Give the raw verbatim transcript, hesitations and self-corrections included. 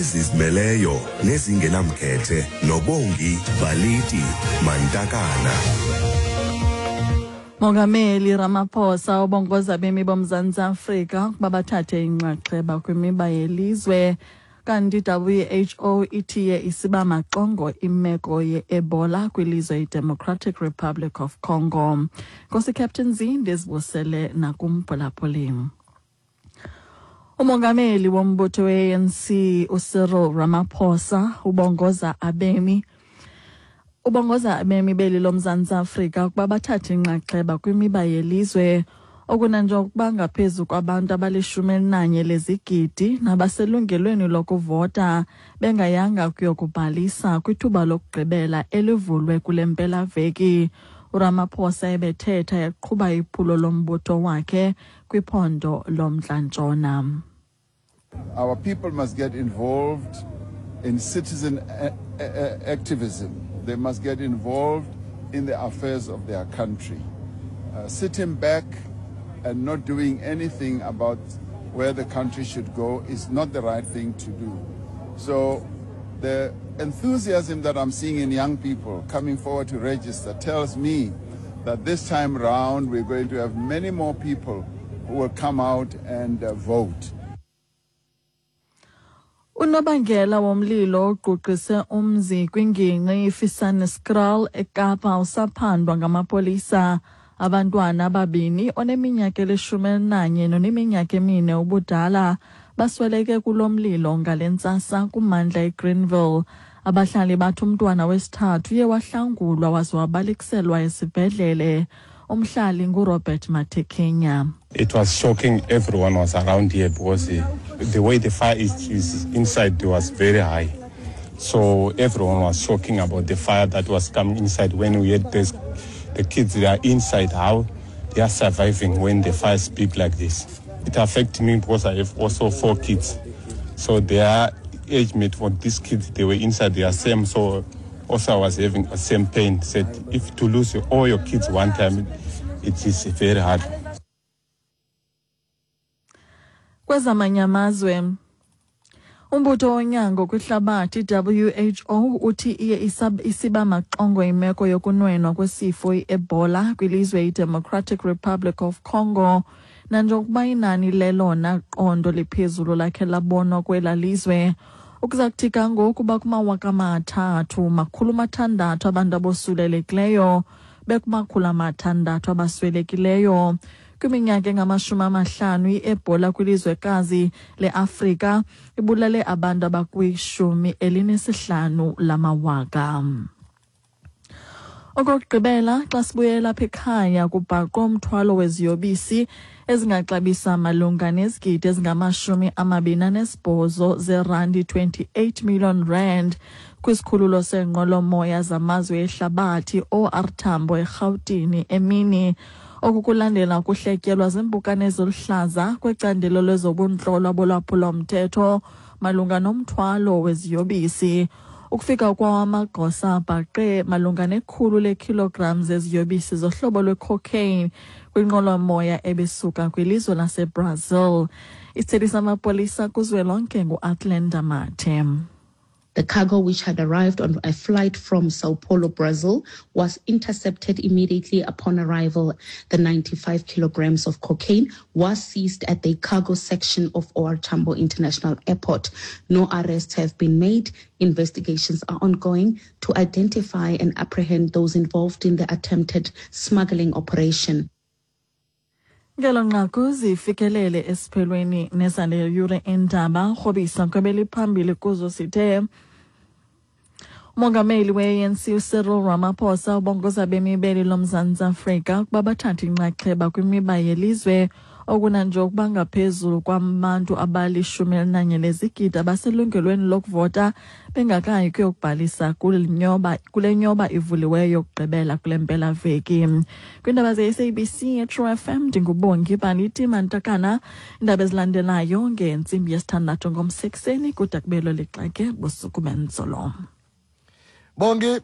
Ezizimeleyo nezingenamkhethe noBongi Baliti Mantakana. Mongameli Ramaphosa ubongoza abemi boMzantsi Afrika ukuba bathathe inxaxheba kwimiba yelizwe. Kanti W H O ithiye isiba maxongo imeko ye-Ebola kwilizwe iDemocratic Republic of Congo. Nkosi Captain Z, ndizibusele nakumphulaphuli. Umongameli wombutho we-A N C uCyril Ramaphosa ubongoza abemi ubongoza abemi beli loMzantsi Afrika ukuba bathathe inxaxheba kwimiba yelizwe, okunanjengokuba ngaphezu kwabantu abalishumi elinanye lezigidi nabaselungelweni lokuvota bengayanga kuyokubhalisa kwithuba lokugqibela elivulwe kule mpelaveki. URamaphosa ebethetha eqhuba iphulo lombutho wakhe kwiphondo loMntla-Ntshona. Our people must get involved in citizen a- a- activism. They must get involved in the affairs of their country. Uh, sitting back and not doing anything about where the country should go is not the right thing to do. So the enthusiasm that I'm seeing in young people coming forward to register tells me that this time round we're going to have many more people who will come out and uh, vote. Unobangela womlilo ogqugqise umzi kwingingqi iFisanieskraal eKapa usaphandwa ngamapolisa. Abantwana ababini, oneminyaka elishumi elinanye noneminyaka emine ubudala, basweleke kulo mlilo ngale ntsasa kummandla eGreenville. Abahlali bathi umntwana wesithathu uye wahlangulwa waze wabalekiselwa esibhedlele. Umhlali nguRobert Matekenya. It was shocking. Everyone was around here because uh, the way the fire is, is inside was very high. So everyone was shocking about the fire that was coming inside. When we had this, the kids, they are inside, how they are surviving when the fire is big like this. It affected me because I have also four kids. So their age mate for these kids, they were inside, they are same. So also I was having the same pain. Said if to lose all your kids one time, it is very hard. Kwezamanye amazwe, umbutho wonyango kwihlabathi W H O uthi iye isab- isiba maxongo imeko yokunwenwa kwesifo iEbola kwilizwe iDemocratic Republic of Congo, nanjengokuba inani lelona qondo liphezulu lakhe labonwa kwela lizwe. Ukuza kuthi ga ngoku bakumawaka amathathu makhulu mathandathu abantu abosulelekileyo, bekumakhulu amathandathu abaswelekileyo. Kwiminyaka engamashumi amahlanu, i-Ebola kwilizwekazi leAfrika ibulale abantu abakwishumi elinesihlanu lamawaka. Okokugqibela, xa sibuyela apha ekhaya, kubhaqwe umthwalo weziyobisi ezingaxabisa malunga nezigidi ezingamashumi amabini anesibhozo zerandi, twenty-eight million rand, kwisikhululo seenqwelomoya zamazwe ehlabathi O R Tambo eRhawutini emini. Oku kulandela ukuhletyelwa ziimpukane eziluhlaza kwecandelo lezobuntlolo bolwaphulomthetho malunga nomthwalo weziyobisi. Ukufika kwawo, amagosa abhaqe malunga nekhulu leekhilogram zeziyobisi zohlobo lwecocaine kwinqwelomoya ebisuka kwilizwe laseBrazil. Isithethi samapolisa kuzwelonke nguAthlenda Mathe. The cargo, which had arrived on a flight from Sao Paulo, Brazil, was intercepted immediately upon arrival. The ninety-five kilograms of cocaine was seized at the cargo section of O R. Tambo International Airport. No arrests have been made. Investigations are ongoing to identify and apprehend those involved in the attempted smuggling operation. Ngelo nqaku zifikelele esiphelweni nezale yure indaba. Rhobisa kwebeliphambili kuzo sithe umongameli we-A N C uCyril Ramaphosa ubongoza abemi beli loMzantsi Afrika ukuba bathathe inxaxheba kwimiba yelizwe, okunanje ukuba ngaphezulu kwabantu abalishumi elinanye lezigidi abaselungelweni lokuvota bengakayi kuyokubhalisa kule nyoba kule nyoba ivuliweyo yokugqibela kule mpelaveki. Kwiindaba ze-S A B C True F M, ndinguBongi Baliti Mantakana. Iindaba ezilandelayo ngentsimbi yesithandathu ngomsekuseni. Kude kubelo lixake, busuku benzolo. Bongi.